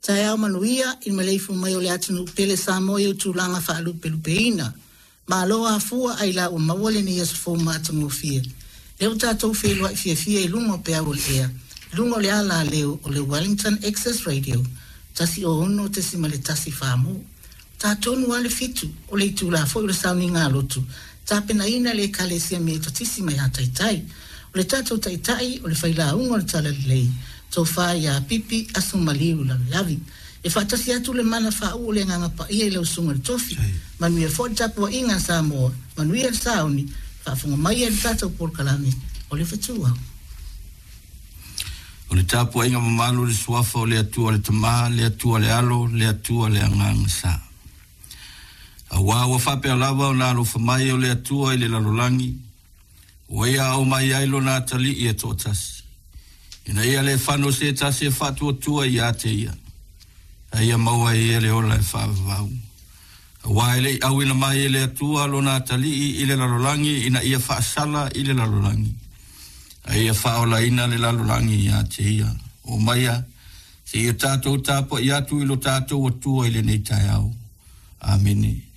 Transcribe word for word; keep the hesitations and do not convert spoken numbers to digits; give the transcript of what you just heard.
Taeao manuia i le maleifua mai o le atunuu pele Samoa i ou tulaga faalupelupeina. Malo afua ailao ua maua lenei aso fou matagofie. Lea ua tatou feiloai fiafia i luga o peau o le ea, i luga o le alaleo o le Wellington Access Radio, one oh six point one Samoa. Tatonu lava le fitu o le itula foi o le sauniga lotu, tapenaina le Ekalesia Metotisi mai Hataitai. O le tatou taitai o le failauga o le Talalelei, tofa ia Pipi Asomaliu Lavilavi. E faatasi atu le mana faauu o le Agaga Paia i lau susuga i le tofi. Manuia foi le tapuaiga a Samoa, manuia le sauni, faafofoga mai e le tatou polokalame o le fetuau. O le tapuaiga mamalu le suafa o le Atua le Tama, le Atua le Alo, le Atua le Agaga Sa. Auā ua faapea lava ona alofa mai o le Atua i le lalolagi, ua ia ao mai ai lona atalii e toatasi. Ina ia le fano se tasi e faatuatua ia te ia. A ia maua e ia le ola e faavavau. Auā e le i auina mai e le Atua lona atalii i le lalolagi ina ia faasala i le lalolagi. A ia faaolaina le lalolagi ia te ia. O maia, se ia tatou tapuai atu i lo tatou Atua i lenei taeao. Amene.